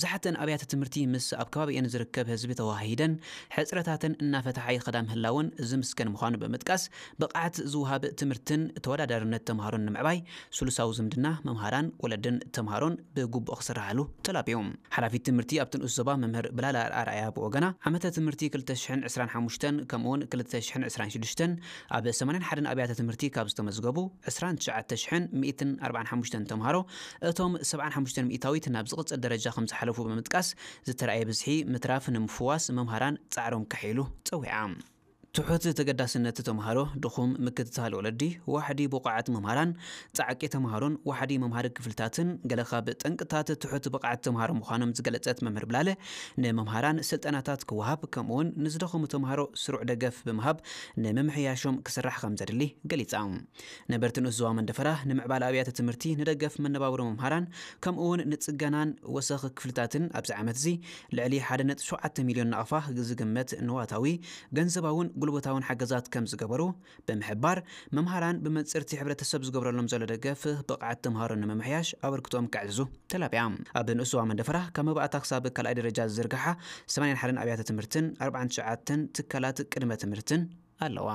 ብዙሓተን ኣብያተ ትምህርቲ ምስ ኣብ ከባቢኤን ዝርከብ ህዝቢ ተዋሃሂደን ሕፅረታተን እናፈትሓ ይኸዳ ምህላውን ዝምስገን ምዃኑ ብምጥቃስ፣ ብቕዓት ዝወሃብ ትምህርትን ተወዳዳርነት ተምሃሮን ንምዕባይ ስሉሳዊ ዝምድና መምሃራን፣ ወለድን ተምሃሮን ብግቡእ ክስራሓሉ ተላብዮም። ሓላፊት ትምህርቲ ኣብቲ ንኡስ ዞባ መምህር ብላላ ኣርኣያ ብወገና፣ ዓመተ ትምህርቲ ክልተ ሽሕን ዕስራን ሓሙሽተን ከምኡውን ክልተ ሽሕን ዕስራን ሽዱሽተን ኣብ ሰማንያን ሓደን ኣብያተ ትምህርቲ ካብ ዝተመዝገቡ ዕስራን ትሽዓተ ሽሕን ሚእትን ኣርባዓን ሓሙሽተን ተምሃሮ፣ እቶም ሰብዓን ሓሙሽተን ሚእታዊት ናብ ዝቕጽል ደረጃ ከም ዝሓለፉ ብምጥቃስ፣ ዝተራእየ ብዝሒ ምትራፍ ንምፍዋስ መምሃራን ጻዕሮም ከሕይሉ ጸዊዓ። ትሑት ተገዳስነት ተምሃሮ፣ ድኹም ምክትታል ወለዲ፣ ዋሕዲ ብቑዓት መምሃራን፣ ጻዕቂ ተምሃሮን ዋሕዲ መምሃሪ ክፍልታትን ገለ ካብ ጠንቅታት ትሑት ብቕዓት ተምሃሮ ምዃኖም ዝገለጸት መምህር ብላለ፣ ንመምሃራን ስልጠናታት ክወሃብ ከምኡውን ንዝደኸሙ ተምሃሮ ስሩዕ ደገፍ ብምሃብ ንምምሕያሾም ክስራሕ ከም ዘድሊ ገሊጻ። ነበርቲ ንኡስ ዞባ መንደፈራ ንምዕባለ ኣብያተ ትምህርቲ፣ ንደገፍ መነባብሮ መምሃራን ከምኡውን ንጽገናን ወሰኽ ክፍልታትን ኣብዚ ዓመት እዚ ልዕሊ ሓደ ነጥቢ ሸውዓተ ሚልዮን ናቕፋ ዝግመት ንዋታዊ፣ ገንዘባውን ጉልበታውን ሓገዛት ከም ዝገበሩ ብምሕባር፣ መምሃራን ብመንጽርቲ ሕብረተሰብ ዝገብረሎም ዘሎ ደገፍ ብቕዓት ተምሃሮ ንምምሕያሽ ኣበርክቶኦም ከዕዝዙ ተላብያ። ኣብ ንኡስ ዞባ መንደፈራ ካብ መባእታ ክሳብ ካልኣይ ደረጃ ዝዝርግሓ ሰማንያን ሓደን ኣብያተ ትምህርትን ኣርባዓን ትሽዓተን ትካላት ቅድመ ትምህርትን ኣለዋ።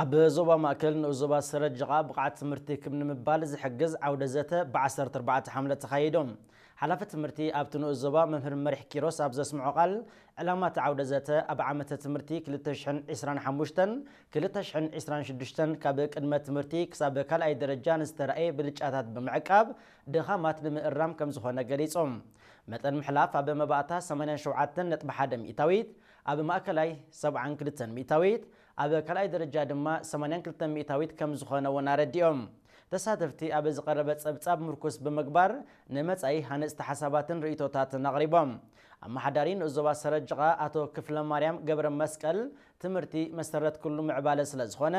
ኣብ ዞባ ማእከል ንኡስ ዞባ ሰረጅቓ ብቕዓት ትምህርቲ ክብ ንምባል ዝሕግዝ ዓውደ ዘተ ብዓሰርተ ኣርባዕተ ሓምለ ተኻይዶም። ሓላፊ ትምህርቲ ኣብቲ ንኡስ ዞባ መምህር መሪሕ ኪሮስ ኣብ ዘስምዖ ቃል፣ ዕላማ እቲ ዓውደ ዘተ ኣብ ዓመተ ትምህርቲ ክልተ ሽሕን ዕስራን ሓሙሽተን ክልተ ሽሕን ዕስራን ሽዱሽተን ካብ ቅድመ ትምህርቲ ክሳብ ካልኣይ ደረጃ ንዝተራእየ ብልጫታት ብምዕቃብ ድኻማት ንምእራም ከም ዝኾነ ገሊጾም። መጠን ምሕላፍ ኣብ መባእታ ሰማንያን ሸውዓተን ነጥቢ ሓደ ሚእታዊት፣ ኣብ ማእከላይ ሰብዓን ክልተን ሚእታዊት፣ ኣብ ካልኣይ ደረጃ ድማ ሰማንያን ክልተን ሚእታዊት ከም ዝኾነ እውን ኣረዲኦም። ተሳተፍቲ ኣብ ዝቐረበ ጸብጻብ ምርኩስ ብምግባር ንመጻኢ ሃነጽቲ ሓሳባትን ርእይቶታትን ኣቕሪቦም። ኣመሓዳሪ ንኡስ ዞባ ሰረጅቓ ኣቶ ክፍለ ማርያም ገብረ መስቀል፣ ትምህርቲ መሰረት ኩሉ ምዕባለ ስለ ዝኾነ፣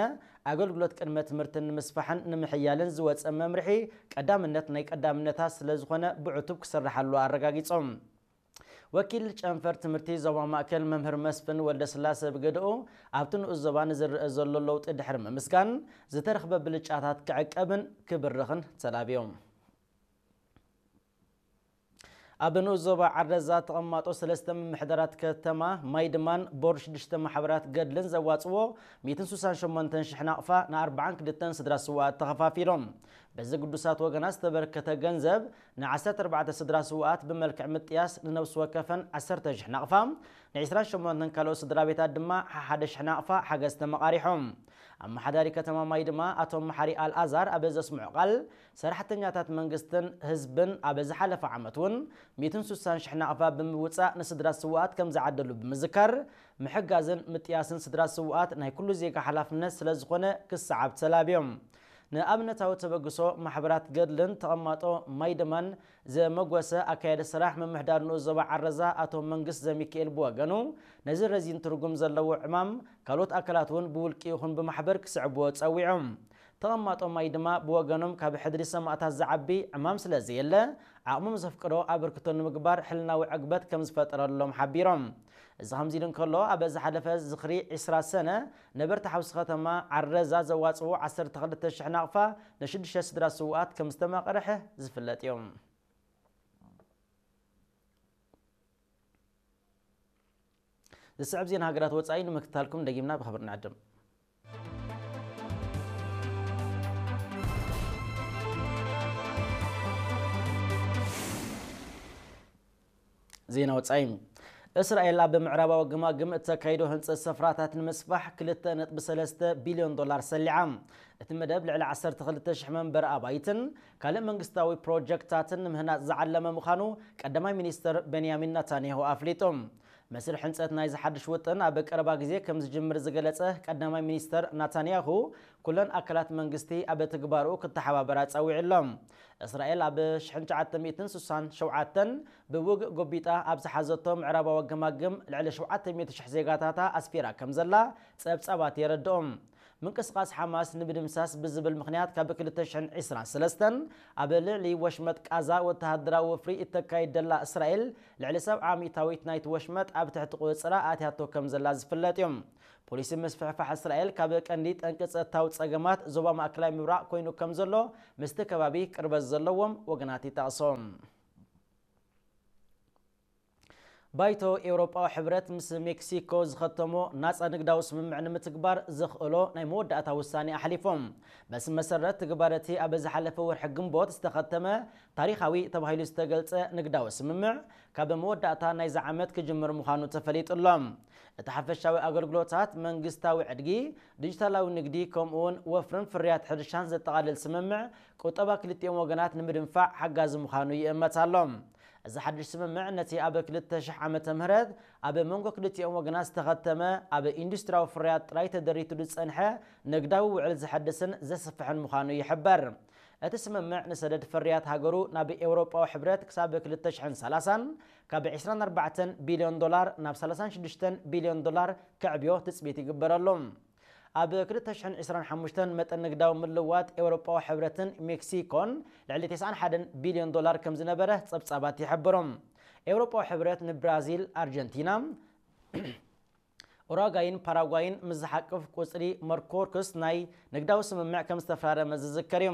ኣገልግሎት ቅድመ ትምህርትን ንምስፋሕን ንምሕያልን ዝወጸ መምርሒ ቀዳምነት ናይ ቀዳምነታት ስለ ዝኾነ ብዕቱብ ክስርሓሉ ኣረጋጊጾም። ወኪል ጨንፈር ትምህርቲ ዞባ ማእከል መምህር መስፍን ወልደስላሰ ብገድኡ፣ ኣብቲ ንኡስ ዞባ ንዝረአ ዘሎ ለውጢ ድሕሪ ምምስጋን፣ ዝተረኽበ ብልጫታት ክዕቀብን ክብርኽን ተላብዮም። ኣብ ንኡስ ዞባ ዓረዛ ተቐማጦ ሰለስተ ምምሕዳራት ከተማ ማይድማን ቦርድ ሽዱሽተ ማሕበራት ገድልን ዘዋጽዎ ሚእትን ስሳን ሸሞንተን ሽሕ ናቕፋ ንኣርባዓን ክልተን ስድራ ስውኣት ተኸፋፊሎም። በዚ ግዱሳት ወገናት ዝተበርከተ ገንዘብ ንዓሰርተ ኣርባዕተ ስድራ ስውኣት ብመልክዕ ምጥያስ ንነብሲ ወከፈን ዓሰርተ ሽሕ ናቕፋ፣ ንዕስራን ሸሞንተን ካልኦት ስድራ ቤታት ድማ ሓሓደ ሽሕ ናቕፋ ሓገዝ ተመቓሪሖም። ኣመሓዳሪ ከተማ ማይድማ ኣቶ መሓሪ ኣልኣዛር ኣብ ዘስምዖ ቃል፣ ሰራሕተኛታት መንግስትን ህዝብን ኣብ ዝሓለፈ ዓመት እውን ሚእትን ስሳን ሽሕ ናቕፋ ብምውጻእ ንስድራ ስውኣት ከም ዝዓደሉ ብምዝካር፣ ምሕጋዝን ምጥያስን ስድራ ስውኣት ናይ ኩሉ ዜጋ ሓላፍነት ስለ ዝኾነ ክሰዓብ ተላብዮም። ንኣብነታዊ ተበግሶ ማሕበራት ገድልን ተቐማጦ ማይድማን ዘመጎሰ ኣካያዲ ስራሕ ምምሕዳር ንኡስ ዞባ ዓረዛ ኣቶ መንግስት ዘሚካኤል ብወገኑ፣ ነዚ ረዚን ትርጉም ዘለዎ ዕማም ካልኦት ኣካላት እውን ብውልቂ ይኹን ብማሕበር ክስዕብዎ ጸዊዖም። ተቐማጦ ማይድማ ብወገኖም፣ ካብ ሕድሪ ሰማእታት ዝዓቢ ዕማም ስለ ዘየለ፣ ዓቕሞም ዘፍቅዶ ኣበርክቶ ንምግባር ሕልናዊ ዕግበት ከም ዝፈጠረሎም ሓቢሮም። እዚ ከምዚ ኢሉ እንከሎ፣ ኣብ ዝሓለፈ ዝኽሪ ዕስራ ሰነ ነበርቲ ሓውሲ ከተማ ዓረዛ ዘዋጽዎ ዓሰርተ ክልተ ሽሕ ናቕፋ ንሽዱሽተ ስድራ ስውኣት ከም ዝተመቕርሐ ዝፍለጥ እዮም። ዝስዕብ ዜና ሃገራት ወጻኢ ንምክትታልኩም ደጊምና ብኽብሪ ንዕድም። ዜና ወጻኢ። እስራኤል ኣብ ምዕራባዊ ግማግም እተካይዶ ህንጸት ሰፍራታት ንምስፋሕ ክልተ ነጥቢ ሰለስተ ቢልዮን ዶላር ሰሊዓ። እቲ መደብ ልዕሊ ዓሰርተ ክልተ ሽሕ መንበሪ ኣባይትን ካልእ መንግስታዊ ፕሮጀክትታትን ንምህናጽ ዝዓለመ ምዃኑ ቀዳማይ ሚኒስተር ቤንያሚን ናታንያሁ ኣፍሊጡ። መስርሕ ህንጸት ናይዚ ሓድሽ ውጥን ኣብ ቀረባ ግዜ ከም ዝጅምር ዝገለጸ ቀዳማይ ሚኒስተር ናታንያሁ፣ ኩለን ኣካላት መንግስቲ ኣብ ትግባርኡ ክተሓባበራ ጸዊዑ ኣሎ። እስራኤል ኣብ ሽሕን ትሽዓተ ሚእትን ስሳን ሸውዓተን ብውግእ ጎቢጣ ኣብ ዝሓዘቶ ምዕራባዊ ገማግም ልዕሊ ሸውዓተ ሚእቲ ሽሕ ዜጋታታ ኣስፊራ ከም ዘላ ጸብጻባት የረድኦም። ምንቅስቓስ ሓማስ ንምድምሳስ ብዝብል ምኽንያት ካብ ክልተ ሽሕን ዕስራን ሰለስተን ኣብ ልዕሊ ወሽመጥ ቃዛ ወተሃደራዊ ወፍሪ እተካይድ ደላ እስራኤል፣ ልዕሊ ሰብዓ ሚእታዊት ናይቲ ወሽመጥ ኣብ ትሕቲ ቁጽጽራ ኣትያቶ ከም ዘላ ዝፍለጥ እዩ። ፖሊሲ ምስፍሕፋሕ እስራኤል ካብ ቀንዲ ጠንቂ ጸጥታዊ ጸገማት ዞባ ማእከላይ ምብራቕ ኮይኑ ከም ዘሎ ምስቲ ከባቢ ቅርበት ዘለዎም ወገናት ይጠቕሶም። ባይቶ ኤውሮጳዊ ሕብረት ምስ ሜክሲኮ ዝኸተሞ ናጻ ንግዳዊ ስምምዕ ንምትግባር ዘኽእሎ ናይ መወዳእታ ውሳኔ ኣሕሊፎም። በዚ መሰረት ትግባረቲ ኣብ ዝሓለፈ ወርሒ ግንቦት ዝተኸተመ ታሪኻዊ ተባሂሉ ዝተገልጸ ንግዳዊ ስምምዕ ካብ መወዳእታ ናይዚ ዓመት ክጅምር ምዃኑ ተፈሊጡ ኣሎ። እቲ ሓፈሻዊ ኣገልግሎታት መንግስታዊ ዕድጊ፣ ዲጂታላዊ ንግዲ ከምኡውን ወፍርን ፍርያት ሕርሻን ዘጠቓልል ስምምዕ ቁጠባ ክልቲኦም ወገናት ንምድንፋዕ ሓጋዚ ምዃኑ ይእመት ኣሎ። እዚ ሓድሽ ስምምዕ ነቲ ኣብ ክልተ ሽሕ ዓመተ ምህረት ኣብ መንጎ ክልቲኦም ወገናት ዝተኸተመ ኣብ ኢንዱስትሪያዊ ፍርያት ጥራይ ተደሪቱ ዝጸንሐ ንግዳዊ ውዕል ዘሐድስን ዘስፍሕን ምዃኑ ይሕበር። እቲ ስምምዕ ንሰደድ ፍርያት ሃገሩ ናብ ኤውሮጳዊ ሕብረት ክሳብ ክልተ ሽሕን ሰላሳን ካብ ዕስራን ኣርባዕተን ቢልዮን ዶላር ናብ ሰላሳን ሽዱሽተን ቢልዮን ዶላር ከዕብዮ ትጽቢት ይግበረሉ። ኣብ ክልተ ሽሕን ዕስራን ሓሙሽተን መጠን ንግዳዊ ምልዋጥ ኤውሮጳዊ ሕብረትን ሜክሲኮን ልዕሊ ተስዓን ሓደን ቢልዮን ዶላር ከም ዝነበረ ጸብጻባት ይሕብሩ። ኤውሮጳዊ ሕብረት ንብራዚል፣ ኣርጀንቲና፣ ኡራጓይን ፓራጓይን ምስ ዝሓቅፍ ቁጽሪ መርኮርክስ ናይ ንግዳዊ ስምምዕ ከም ዝተፈራረመ ዝዝከር እዩ።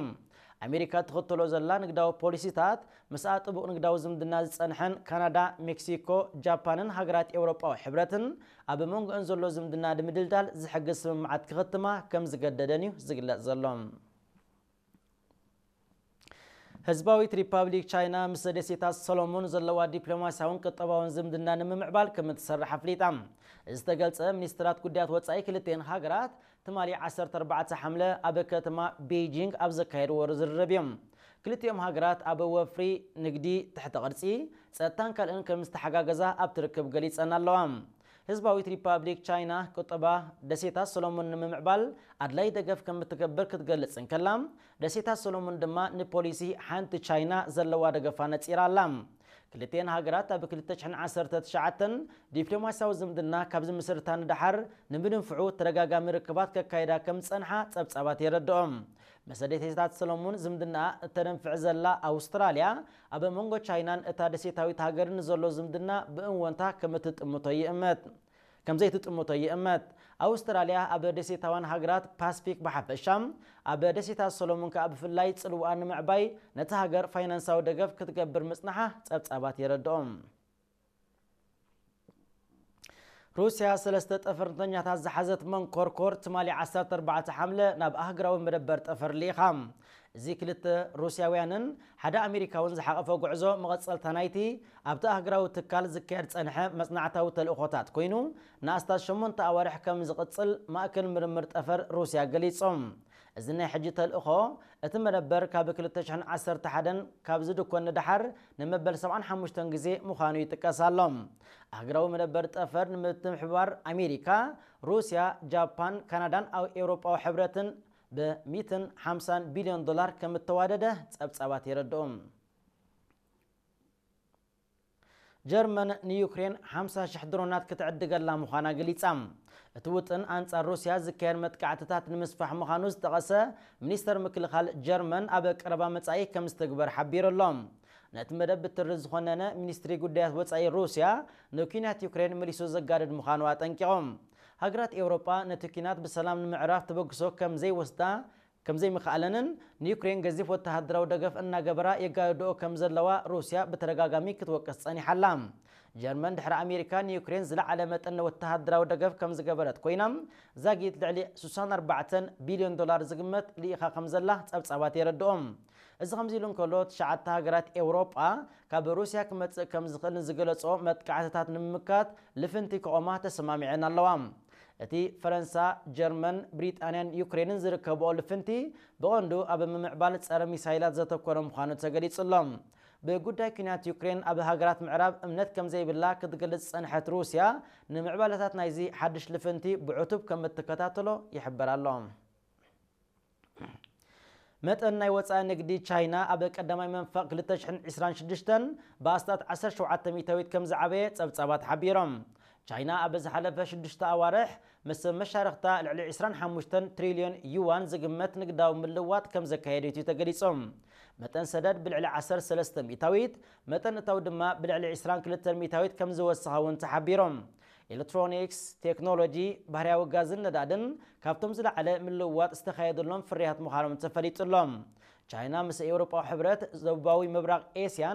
ኣሜሪካ ትኽተሎ ዘላ ንግዳዊ ፖሊሲታት ምስኣ ጥቡቕ ንግዳዊ ዝምድና ዝጸንሐን ካናዳ፣ ሜክሲኮ፣ ጃፓንን ሃገራት ኤውሮጳዊ ሕብረትን ኣብ መንጎአን ዘሎ ዝምድና ንምድልዳል ዝሕግዝ ስምምዓት ክኽትማ ከም ዝገደደን እዩ ዝግለጽ ዘሎ። ህዝባዊት ሪፓብሊክ ቻይና ምስ ደሴታት ሰሎሞን ዘለዋ ዲፕሎማስያውን ቁጠባውን ዝምድና ንምምዕባል ከም እትሰርሕ ኣፍሊጣ። እዚ ዝተገልጸ ሚኒስትራት ጉዳያት ወጻኢ ክልቲኤን ሃገራት ትማሊ ዓሰርተ ኣርባዕተ ሓምለ ኣብ ከተማ ቤይጂንግ ኣብ ዘካየድዎ ዝርርብ እዮም። ክልቲኦም ሃገራት ኣብ ወፍሪ፣ ንግዲ፣ ትሕተ ቅርጺ፣ ጸጥታን ካልእን ከም ዝተሓጋገዛ ኣብቲ ርክብ ገሊጸን ኣለዋ። ህዝባዊት ሪፓብሊክ ቻይና ቁጠባ ደሴታት ሰሎሞን ንምምዕባል ኣድላይ ደገፍ ከም እትገብር ክትገልጽ እንከላ፣ ደሴታት ሰሎሞን ድማ ንፖሊሲ ሓንቲ ቻይና ዘለዋ ደገፋ ነጺራ ኣላ። ክልቲኤን ሃገራት ኣብ ክልተ ሽሕን ዓሰርተ ትሽዓተን ዲፕሎማስያዊ ዝምድና ካብ ዝምስርታ ንደሓር ንምድንፍዑ ተደጋጋሚ ርክባት ከካይዳ ከም ዝጸንሓ ጸብጻባት የረድኦም። ምስ ደሴታት ሰሎሞን ዝምድና እተደንፍዕ ዘላ ኣውስትራልያ፣ ኣብ መንጎ ቻይናን እታ ደሴታዊት ሃገርን ዘሎ ዝምድና ብእወንታ ከም እትጥምቶ ይእመት ከም ዘይትጥምቶ ይእመት። ኣውስትራልያ ኣብ ደሴታውያን ሃገራት ፓስፊክ ብሓፈሻ፣ ኣብ ደሴታት ሰሎሞን ከኣ ብፍላይ ጽልዋኣ ንምዕባይ ነቲ ሃገር ፋይናንሳዊ ደገፍ ክትገብር ምጽንሓ ጸብጻባት የረድኦም። ሩስያ ሰለስተ ጠፈርተኛታት ዝሓዘት መንኮርኮር ትማሊ ዓሰርተ ኣርባዕተ ሓምለ ናብ ኣህጉራዊ መደበር ጠፈር ልኢኻ። እዚ ክልተ ሩስያውያንን ሓደ ኣሜሪካውን ዝሓቐፈ ጉዕዞ መቐጸልታ ናይቲ ኣብቲ ኣህጉራዊ ትካል ዝካየድ ጸንሐ መጽናዕታዊ ተልእኾታት ኮይኑ፣ ንኣስታት ሸሞንተ ኣዋርሕ ከም ዝቕጽል ማእከል ምርምር ጠፈር ሩስያ ገሊጹ። እዚ ናይ ሕጂ ተልእኾ፣ እቲ መደበር ካብ ክልተ ሽሕን ዓሰርተ ሓደን ካብ ዝድኮን ንደሓር ንመበል ሰብዓን ሓሙሽተን ግዜ ምዃኑ ይጥቀስ ኣሎ። ኣህጉራዊ መደበር ጠፈር ንምትሕብባር ኣሜሪካ፣ ሩስያ፣ ጃፓን፣ ካናዳን ኣብ ኤውሮጳዊ ሕብረትን ብ ሚእትን ሓምሳን ቢልዮን ዶላር ከም እተዋደደ ጸብጻባት የረድኡ። ጀርመን ንዩክሬን ሓምሳ ሽሕ ድሮናት ክትዕድገላ ምዃና ገሊጻ። እቲ ውጥን ኣንጻር ሩስያ ዝካየድ መጥቃዕትታት ንምስፋሕ ምዃኑ ዝጠቐሰ ሚኒስተር ምክልኻል ጀርመን ኣብ ቀረባ መጻኢ ከም ዝትግበር ሓቢሩ ኣሎ። ነቲ መደብ ብትሪ ዝኾነነ ሚኒስትሪ ጉዳያት ወጻኢ ሩስያ ንኲናት ዩክሬን መሊሱ ዘጋድድ ምዃኑ ኣጠንቂቖም። ሃገራት ኤውሮጳ ነቲ ኲናት ብሰላም ንምዕራፍ ተበግሶ ከም ዘይወስዳ ከም ዘይምኽኣለንን ንዩክሬን ገዚፍ ወተሃደራዊ ደገፍ እናገበራ የጋድድኦ ከም ዘለዋ ሩስያ ብተደጋጋሚ ክትወቅስ ጸኒሓ ኣላ። ጀርመን ድሕሪ ኣሜሪካ ንዩክሬን ዝለዓለ መጠን ወተሃደራዊ ደገፍ ከም ዝገበረት ኮይና፣ ዛጊት ልዕሊ ስሳን ኣርባዕተን ቢልዮን ዶላር ዝግመት ልኢኻ ከም ዘላ ጸብጻባት የረድኦም። እዚ ከምዚ ኢሉ እንከሎ፣ ትሽዓተ ሃገራት ኤውሮጳ ካብ ሩስያ ክመጽእ ከም ዝኽእል ንዝገለጾ መጥቃዕትታት ንምምካት ልፍንቲ ክቖማ ተሰማሚዐን ኣለዋ። እቲ ፈረንሳ፣ ጀርመን፣ ብሪጣንያን ዩክሬንን ዝርከብኦ ልፍንቲ ብቐንዱ ኣብ ምምዕባል ጸረ ሚሳይላት ዘተኮረ ምዃኑ ተገሊጹ ኣሎ። ብጉዳይ ኲናት ዩክሬን ኣብ ሃገራት ምዕራብ እምነት ከም ዘይብላ ክትገልጽ ዝጸንሐት ሩስያ፣ ንምዕባለታት ናይዚ ሓድሽ ልፍንቲ ብዕቱብ ከም እትከታተሎ ይሕበር ኣሎ። መጠን ናይ ወጻኢ ንግዲ ቻይና ኣብ ቀዳማይ መንፈቕ ክልተ ሽሕን ዕስራን ሽዱሽተን ብኣስታት ዓሰርተ ሸውዓተ ሚእታዊት ከም ዝዓበየ ጸብጻባት ሓቢሮም። ቻይና ኣብ ዝሓለፈ ሽዱሽተ ኣዋርሕ ምስ መሻርኽታ ልዕሊ ዕስራን ሓሙሽተን ትሪልዮን ዩዋን ዝግመት ንግዳዊ ምልዋጥ ከም ዘካየደት እዩ ተገሊጹ። መጠን ሰደድ ብልዕሊ ዓሰርተ ሰለስተ ሚእታዊት፣ መጠን እታው ድማ ብልዕሊ ዕስራን ክልተን ሚእታዊት ከም ዝወሰኸ እውን ተሓቢሮም። ኤሌክትሮኒክስ፣ ቴክኖሎጂ፣ ባህርያዊ ጋዝን ነዳድን ካብቶም ዝለዓለ ምልውዋጥ ዝተኻየደሎም ፍርያት ምዃኖም ተፈሊጡ ኣሎ። ቻይና ምስ ኤውሮጳዊ ሕብረት፣ ደቡባዊ ምብራቕ ኤስያን